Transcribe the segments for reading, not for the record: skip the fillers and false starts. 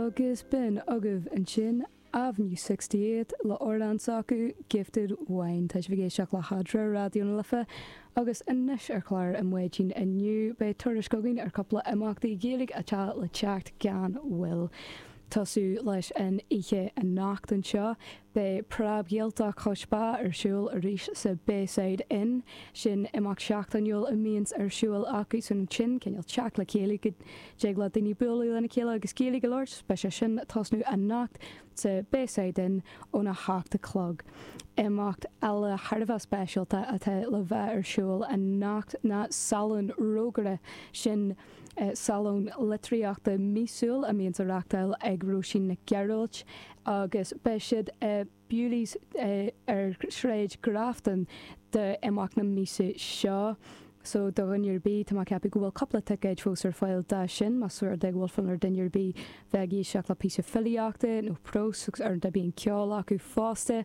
Agus b'in agaibh ansin Avenue 68 le amhrán s'acu, Gifted Wine. Tá sibh ag éisteacht le hEadra, Raidió na Life, agus anois ar chlár an maidin inniu beidh tuairisc againn ar cúpla imeachtaí Gaeilge atá le teacht gan mhoill. Tosú leis an oíche anocht anseo, beidh Preab-Ghaeltacht Chois Bá ar siúl arís sa Bayside Inn. Sin imeacht seachtainiúil a mbíonns ar siúl acu san ansin, cineál teacht le chéile go dtig le daoine bualadh lena chéile agus Gaeilge a labhairt. Beidh sé sin ag tosnú anocht sa Bayside Inn óna hocht a chlog. Imeacht eile thar a bheith speisialta atá le bheith ar siúl anocht ná Salón Rógaire. Sin salón litríochta míosúil a mbíonns á reachtáil ag Róisín Nic Gearailt agus beidh siad i Bewley's ar Shráid Grafton d'imeacht na míosa seo. So do dhuine ar bith, tá mé ag ceapadh go bhfuil cúpla ticéid fós ar fáil dá sin, más rud é go bhfuil fonn ar duine ar bith bheith ag éisteacht le píosa filíochta nó prós agus ar ndóigh bíonn ceol acu fosta.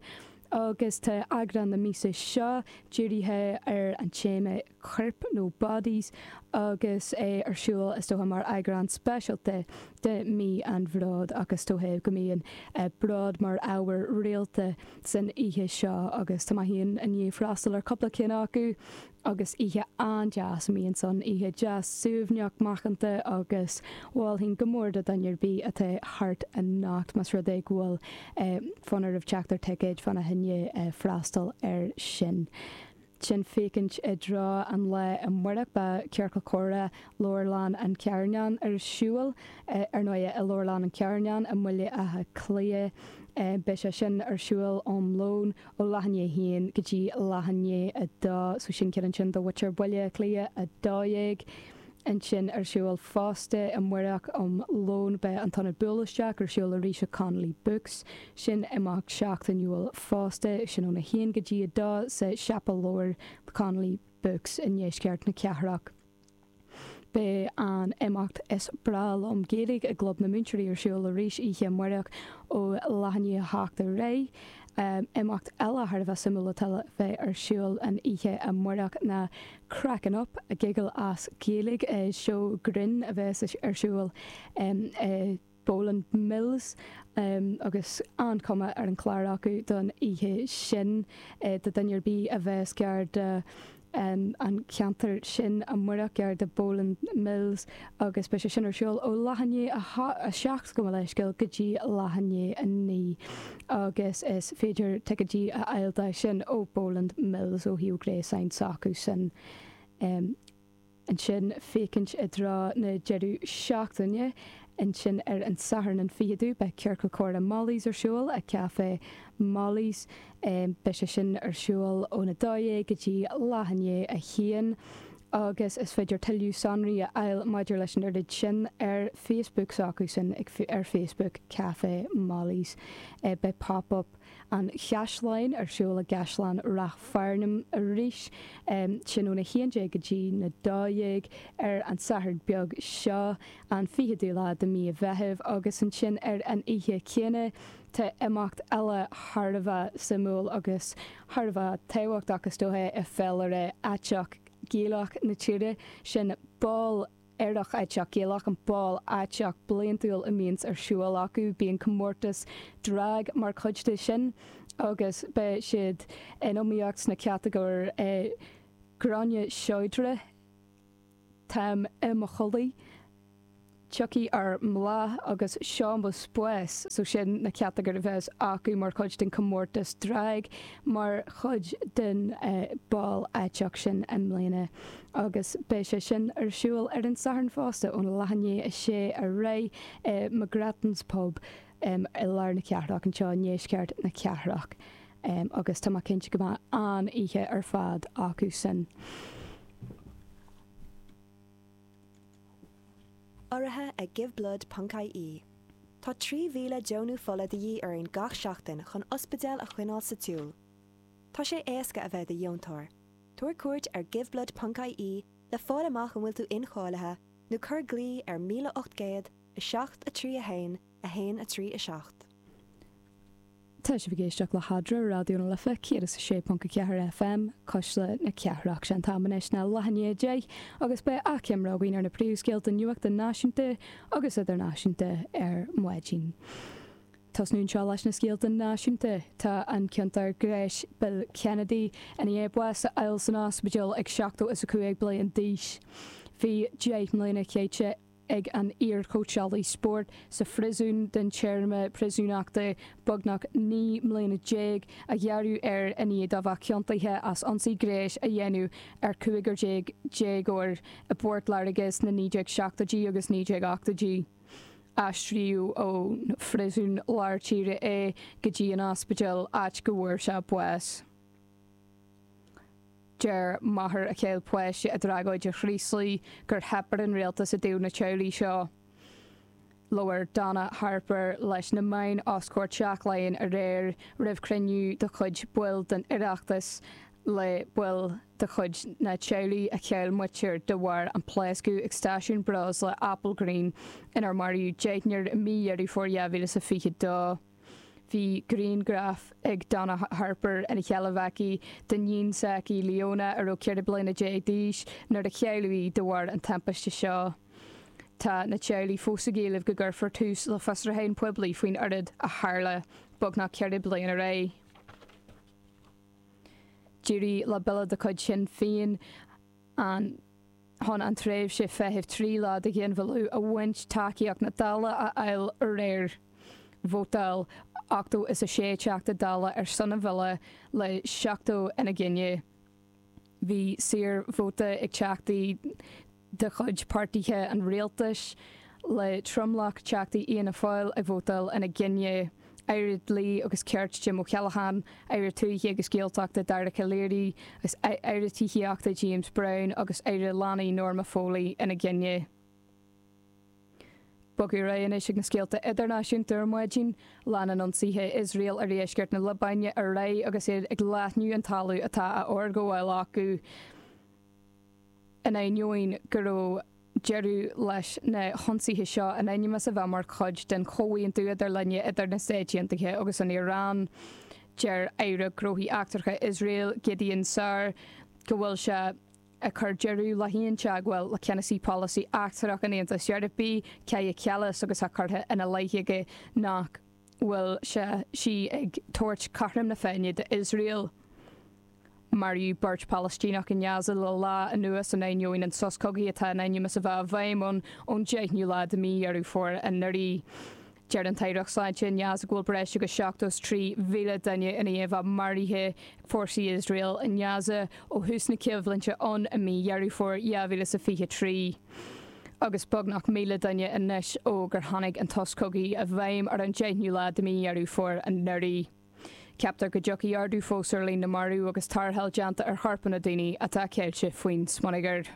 Agus tá eagrán na míosa seo dírithe ar an téama coirp nó bodies agus é ar siúl is dócha mar eagrán speisialta de Mí an Bhróid ach is dócha go mbíonn bród mar ábhar rialta san oíche seo agus tá mé féin i ndiaidh freastal ar cúpla ceann acu agus oíche an-deas a mbíonn ann, oíche deas suaimhneach macánta agus mholfainn go mór do dhuine ar bith atá thart anocht más rud é go bhfuil fonn oraibh teacht ar ticéid fána choinne freastal air sin. Sin féachaint i dtreo an lae amárach beidh Ciorcal Comhrá Leabharlann an Charnáin ar siúl, ar ndóigh i Leabharlann an Charnáin i mBaile Átha Cliath. Beidh sé sin ar siúl um lón ó leath i ndiaidh a haon go dtí leath i ndiaidh a dó, so sin ceann ansin do mhuintir Bhaile Átha Cliath 12. Ansin ar siúl fosta amárach um lón beidh an tIonad Buail Isteach ar siúl arís i Connolly Books. Sin imeacht seachtainiúil fosta, sin óna haon go dtí a dó sa siopa leabhar Connolly Books i ndeisceart na cathrach. Beidh an imeacht Is Breá Liom Gaeilge i gClub na Múinteoirí ar siúl arís oíche amárach ó leath i ndiaidh a hocht ar aghaidh. Imeacht eile thar a bheith suimiúil atá le bheith ar siúl an oíche amárach ná Crackin' Up, a Giggle as Gaeilge, seó grinn a bheas ar siúl i Boland Mills agus an-chuma ar an chlár acu don oíche sin. Do dhuine ar bith a bheas gar do an cheantar sin amárach, gar do Boland Mills agus beidh sé sin ar siúl ó leath i ndiaidh a 7 gabh mo leithscéal go dtí leath i ndiaidh a 9 agus is féidir ticéidí a fháil dó sin ó Boland Mills ó shuíomh gréasáin s'acu sin. Ansin féachaint i dtreo na deireadh seachtaine. Ansin ar an Satharn an 20ú beidh Ciorcal Comhrá Molly's ar siúl i Café Molly's. Beidh sé sin ar siúl óna 12 go dtí leath i ndiaidh a haon agus is féidir tuilleadh sonraí a fháil maidir leis an oiread sin ar Facebook s'acu sin ar Facebook Café Molly's. Beidh Pop Up an Chaisleáin ar siúl i gCaisleán Ráth Fearnáin arís, sin óna 11 go dtí na 12 ar an Satharn beag seo, an 20ú lá de mí Mheithimh, agus ansin ar an oíche chéanna tá imeacht eile thar a bheith suimiúil agus thar a bheith tábhachtach is dócha i féilire aiteach Gaelach na tíre, sin Bál Aerach Aiteach Gaelach, an bál aiteach bliantúil a mbíonns ar siúl acu. Bíonn comórtas drag mar chuid de sin agus beidh siad in iomaíocht sna catagóir Gráinne Seodra, Táim i mo Chodladh, Tiocfaidh ár mBláth agus Seo mo Spás. So sin na catagóir a bheas acu mar chuid den comórtas drag mar chuid den bál aiteach sin i mbliana. Agus beidh sé sin ar siúl ar an Satharn fosta óna leath i ndiaidh a sé ar aghaidh i McGrattan's Pub i lár na cathrach anseo i ndeisceart na cathrach. Agus tá mé cinnte go mbeidh an-oíche ar fad acu sin. Urraithe ag Giveblood ponc ie. Tá 3,000 deonú fola de dhíth orainn gach seachtain chun ospidéil a choinneáil sa tsiúl. Tá sé éasca a bheith i do dheontóir. Tabhair cuairt ar giveblood ponc ie le fáil amach an bhfuil tú incháilithe nó cuir glao ar 1800 7 3 1 1 3 7. Tá sibh ag éisteacht le hEadra, Raidió na Life 106.4 FM, Cuisle na Cathrach. Sé an t-am anois ná leath i ndiaidh 10 agus beidh achoimre againn ar na príomhscéalta nuachta náisiúnta agus idirnáisiúnta ar maidin. Tosnú anseo leis na scéalta náisiúnta. Tá an ciontóir gnéis Bill Kennedy i ndiaidh bás a fháil san ospidéal ag 75 bliain d'aois. Bhí 10 mbliana caite ag an iar-chóitseálaí spóirt sa phríosún den téarma príosúnachta beagnach 19 mbliana a gearradh air i ndiaidh dó bheith ciontaithe as ionsaí gnéis a dhéanamh ar chúigear déagóir i bPort Láirge sna 1970idí agus 1980idí. Aistríodh ón phríosún lár tíre é go dtí an ospidéal, áit go bhfuair sé bás. Deir máthair a chaill páiste i dtragóid an Chraoslaigh gur theip ar an rialtas i dtaobh na teaghlaigh seo. Labhair Donna Harper leis na meáin os comhair Teach Laighean aréir roimh chruinniú de chuid baill den Oireachtas le baill de chuid na teaghlaigh a chaill muintir de bharr an pléascadh ag stáisiún breosla Applegreen inar maraíodh deichniúr i mí Dheireadh Fómhair 2022. Bhí grianghraf ag Donna Harper ina sheilbh aici d'iníon s'aici, Leona, a raibh 14 bliana d'aois nuair a cailleadh í de bharr an timpiste seo. Tá na teaghlaigh fós ag éileamh go gcuirfear tús le fiosrúchán poiblí faoin rud a tharla beagnach 4 bliana ar aghaidh. D'éirigh le bille de chuid Shinn Féin an. chun an tréimhse feithimh 3 lá do ghinmhilleadh a bhaint tacaíocht na Dála a fháil aréir. Vótáil 86 Teachta Dála ar son an bhille le 70 ina gcoinne. Bhí saorvóta ag teachtaí de chuid páirtithe an rialtais, le tromlach teachtaí Fhianna Fáil ag vótáil ina gcoinne. Aire Dlí agus Cirt Jim O'Callaghan, Aire Tuaithe agus Gaeltachta Dara Calleary agus Aire Tithíochta James Browne agus Aire Leanaí Norma Foley ina gcoinne. Bogadh ar aghaidh anois ag na scéalta idirnáisiúnta ar maidin. Leanann ionsaithe Iosrael ar dheisceart na Liobáine ar aghaidh agus iad ag leathnú an talamh atá á fhorghabháil acu. In ainneoin go raibh deireadh leis na hionsaithe seo in ainm is a bheith mar chuid den chomhaontú idir linne idir na Stáit Aontaithe agus an Iaráin, deir Aire Gnóthaí Eachtracha Iosrael, Gideon Saar, go bhfuil sé ag cur deireadh le haon teagmháil le ceannasaí polasaí eachtrach an Aontais Eorpaigh, Kaja Kallas, agus tá curtha ina leith aige nach bhfuil sé, sí ag tabhairt cothrom na Féinne d'Iosrael. Maraíodh beirt Phalaistíneach i nGaza le lá anuas in ainneoin an sos cogaidh atá in ainm is a bheith i bhfeidhm ann ón 10ú lá de mí Dheireadh Fómhair anuraidh. Deir an tAireacht Sláinte i nGaza go bhfuil breis agus 73,000 duine i ndiaidh a bheith maraithe ag fórsaí Iosrael i nGaza ó thús na coimhlinte ann i mí Dheireadh Fómhair 2023 agus beagnach 1,000 duine anois ó gur tháinig an sos cogaidh i bhfeidhm ar an 10ú lá de mí Dheireadh Fómhair anuraidh. Ceaptar go dtiocfaidh ardú fós ar líon na marbh agus tarrtháil déanta ar chorpanna daoine atá ceilte faoin smionagar.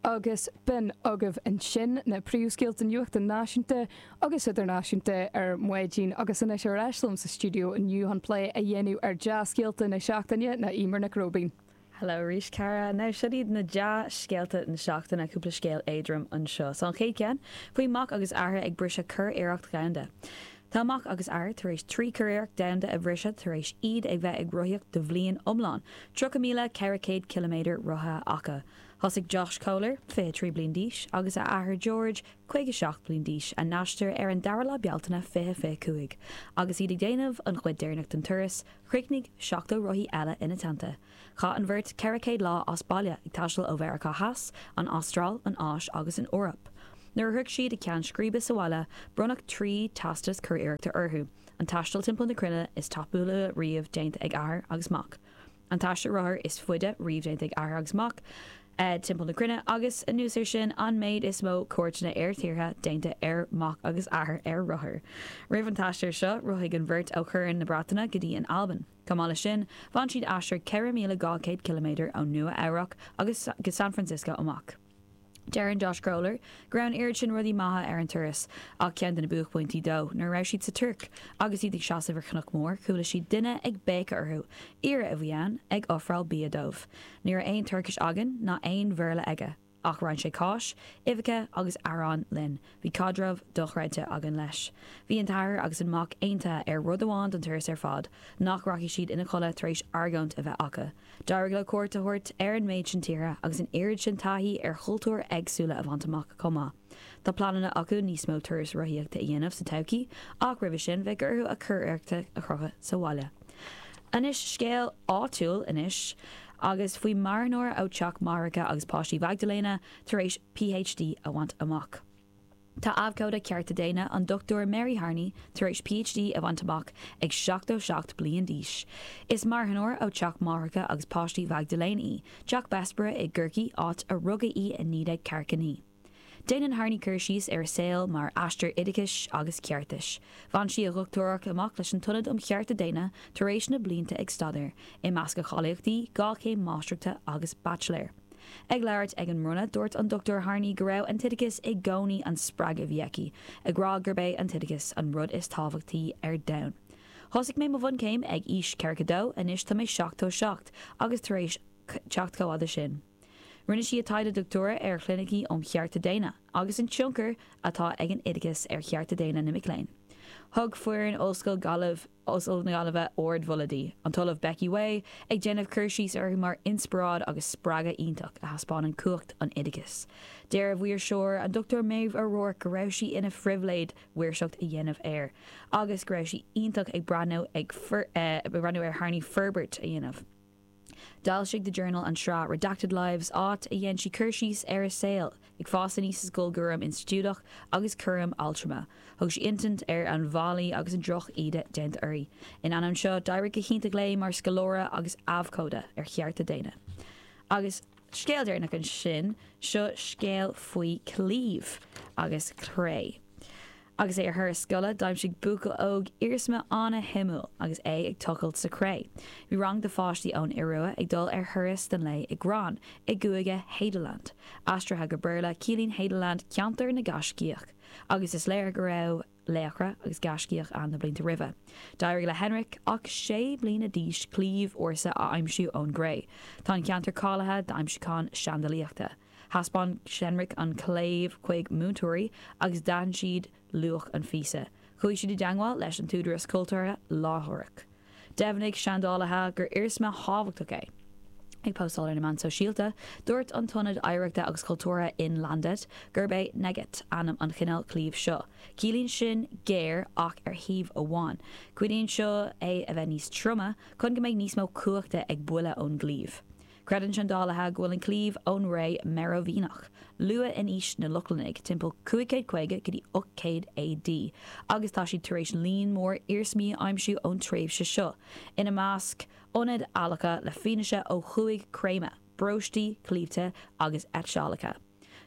Agus b'in agaibh ansin na príomhscéalta nuachta náisiúnta agus idirnáisiúnta ar maidin agus anois ar ais liom sa stiúideo inniu chun plé a dhéanamh ar dea-scéalta na seachtaine ná Eimear Nic Róibín. Hello arís cara. Now siod iad na dea-scéalta na seachtaine, cúpla scéal éadrom anseo. So an chéad cheann, faoi mac agus athair ag briseadh curiarracht dhomhanda. Tá mac agus athair tar éis 3 curiarracht domhanda a bhriseadh tar éis iad ag bheith ag rothaíocht do bhliain iomlán, 30,400 ciliméadar rothaithe acu. Thosaigh Josh Kohler, 23 bliain d'aois, agus a athair George, 57 bliain d'aois, a n-aistear ar an dara lá Bealtaine 2025. Agus iad ag déanamh an chuid deireanach den turas, Chríochnaigh 70 rothaí eile ina dteannta. Chaith an bheirt 400 lá as baile, ag taisteal ó Mheiriceá Theas, an Astráil, an Áis agus an Eoraip. Nuair a shroich siad a gceann scríbe sa bhaile, bronnadh 3 teastas curiarrachta orthu, an taisteal timpeall na cruinne is tapúla riamh déanta ag athair agus mac, an t-aistear rothair is faide riamh déanta ag athair agus mac timpeall na cruinne, agus, anuas air sin, an méid is mó cuairteanna ar thíortha déanta ag mac agus athair ar rothar. Roimh an t-aistear seo, rothaigh an bheirt ó Chorn na Breataine go dtí an Albain. Chomh maith leis sin, bhain siad aistear 4,200 ciliméadar ó Nua Eabhrac agus go San Francisco amach. Deireann Josh Kroller go raibh an oiread sin rudaí maithe ar an turas, ach ceann de na buaicphointí dó, nuair a raibh siad sa Tuirc agus iad ag seasamh ar chnoc mór, chuala siad duine ag béiceadh orthu, aoire a bhí ann, ag ofráil bia dóibh. Ní raibh aon Tuircis againn, ná aon Bhéarla aige. Ach roinn sé cáis, uibheacha agus arán linn. Bhí caidreamh dochreidte againn leis. Bhí an t-athair agus an mac aontaithe ar rud amháin don turas ar fad, nach rachaidh siad ina chodladh tar éis argóint a bheith acu. D'éirigh leo cuairt a thabhairt ar an méid sin tíortha agus an oiread sin taithí ar chultúir éagsúla a bhaint amach chomh maith. Tá pleananna acu níos mó turas rothaíochta a dhéanamh sa todhchaí ach roimhe sin bheadh orthu a curiarracht a chrochadh sa bhaile. Anois scéal áitiúil anois agus faoi marthanóir ó Teach Máithreacha agus Páistí Mhaigdiléana tar éis PhD a bhaint amach. Tá abhcóide cearta daonna, an Dr Mary Harney, tar éis PhD a bhaint amach ag 77 bliain d'aois. Is marthanóir ó Teach Máithreacha agus Páistí Mhaigdiléana í, Teach Bessborough i gCorcaigh, áit a rugadh í i 1949. Déanann Harney cur síos ar a saol mar aistear oideachais agus ceartais. Bhain sí a dhochtúireacht amach leis an tIonad um Chearta Daonna tar éis na blianta ag staidéar, i measc a cháilíochtaí, 2 chéim máistreachta agus baitsiléir. Ag labhairt ag an mbronnadh, dúirt an Dr Harney go raibh an t-oideachas i gcónaí an spreagadh a bhí aici, ag rá gurb é an t-oideachas an rud is tábhachtaí ar domhan. Thosaigh mé mo bhunchéim ag aois 42, anois tá mé 77 agus tar éis teacht chomh fhada sin. Rinne sí a taighde dochtúra ar chlinicí um chearta daonna agus an tionchar atá ag an oideachas ar chearta daonna na mic léinn. Thug foireann Ollscoil Gaillimh Ollscoil na Gaillimhe ardmholadh di, an tOllamh Becky Way ag déanamh cur síos uirthi mar inspioráid agus spreagadh iontach a thaispeánann cumhacht an oideachais. Deir a mhaoirseoir, an Dr Maeve O'Rourke go raibh sí ina phribhléid mhaoirseacht a dhéanamh air agus go raibh sí iontach ag breathnú ag breathnú ar Harney forbairt a dhéanamh. D'fhoilsigh The Journal an tsraith Redacted Lives, áit a dhein sí cur síos ar a saol ag fás aníos sa scoil gcúram institiúideach agus cúram altrama. Thug sí insint ar an bhfaillí agus an droch-íde déanta uirthi. In ainneoin seo, d'éirigh go hiontach léi mar scoláire agus abhcóide ar chearta daonna. Agus scéal deireanach ansin, seo scéal faoi claíomh agus cré. Agus é ar thuras scoile, d'aimsigh buachaill óg iarsma an-shuimiúil agus é ag tochailt sa chré. Bhí rang de pháistí ón Iorua ag dul ar thuras don lae i gCrann, i gcúige Hadeland. Aistrithe go Béarla, ciallaíonn Hadeland ceantar na gaiscíoch, agus is léir go raibh laochra agus gaiscíoch ann na blianta roimhe. D'éirigh le Henrik, ach sé bliana d'aois, claíomh ársa a aimsiú ón gcré. Tá an ceantar cáilithe d'aimsiúcháin seandalaíochta. Thaispeáin Henrik an claíomh chuig múinteoirí agus d'aithin siad luach an phíosa. Chuaigh siad i dteangmháil leis an t-údarás cultúrtha láithreach. Dheimhnigh seandálaithe gur iarsma thábhachtach é. Ag póstáil ar na meáin sóisialta, dúirt an tIonad Oidhreachta agus Cultúrtha Innlandet gurb é Neget ainm an chineál claímh seo. Ciallaíonn sin géar ach ar thaobh amháin. Cuidíonn seo é a bheith níos troime chun go mbeidh níos mó cumhachta ag buille ón gclaíomh. Creideann seandálaithe go bhfuil an claíomh ón ré Meiróivingeach, luath in aois na Lochlannaigh, timpeall 550 go dtí 800 AD, agus tá siad tar éis líon mór iarsmaí a aimsiú ón tréimhse seo, ina measc, ionaid adhlactha le fianaise ó chúig creimeadh, bróistí, claímhte agus eitseálacha.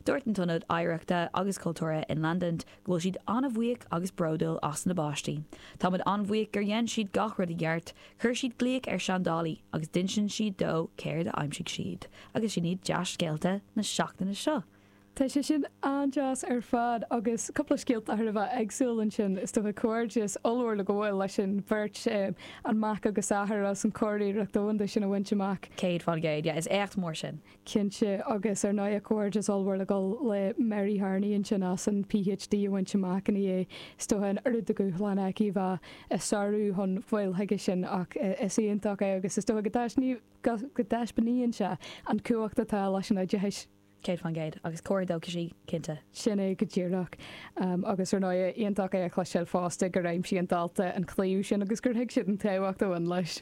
Dúirt an tIonad Oidhreachta agus Cultúrtha Innlandet go bhfuil siad an-bhuíoch agus bródúil as na bpáistí. Táimid an-bhuíoch gur dhein siad gach rud i gceart, chuir siad glaoch ar seandálaí agus d'insin siad dó céard a aimsigh siad. Agus sin iad dea-scéalta na seachtaine seo. Tá sé sin an-deas ar fad agus cúpla scéalta thar a bheith éagsúil ansin. Is dócha comhghairdeas ollmhór le gabháil leis an bheirt, an mac agus athair, as an curiarracht domhanda sin a bhaint amach. 100%, yeah, is éacht mór sin. Cinnte, agus ar ndóigh comhghairdeas ollmhór le dul le Mary Harney ansin as an PhD a bhaint amach ina dhiaidh. Is dócha an oiread de dhúshlán aici a bheith ag sárú chun fáil chuige sin ach is iontach é agus is dócha go go dtaispeánaíonn sé an cumhacht atá leis an oideachais. 100% agus comhartha dóchais í, cinnte. Sin é go díreach. Agus ar ndóigh, iontach é a chloisteáil fosta gur aimsigh an dalta an claíomh sin agus gur thuig siad an tábhacht a bhain leis.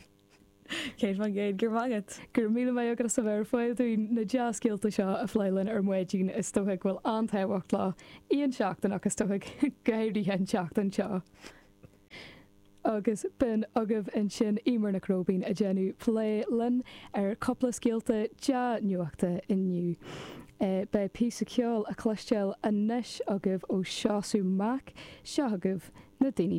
100%, go raibh maith agat. Go raibh míle maith agat as a bheith ar fáil dúinn na dea-scéalta seo a phlé linn ar maidin. Is dócha go bhfuil an-tábhacht leo aon seachtain ach is dócha go háirithe an tseachtain seo. Agus b'in agaibh ansin Eimear Nic Róibín ag déanamh plé linn ar cúpla scéalta dea-nuachta inniu. Beidh píosa ceoil a chloisteáil anois agaibh ó Seosamh Mac. Seo agaibh Na Daoine.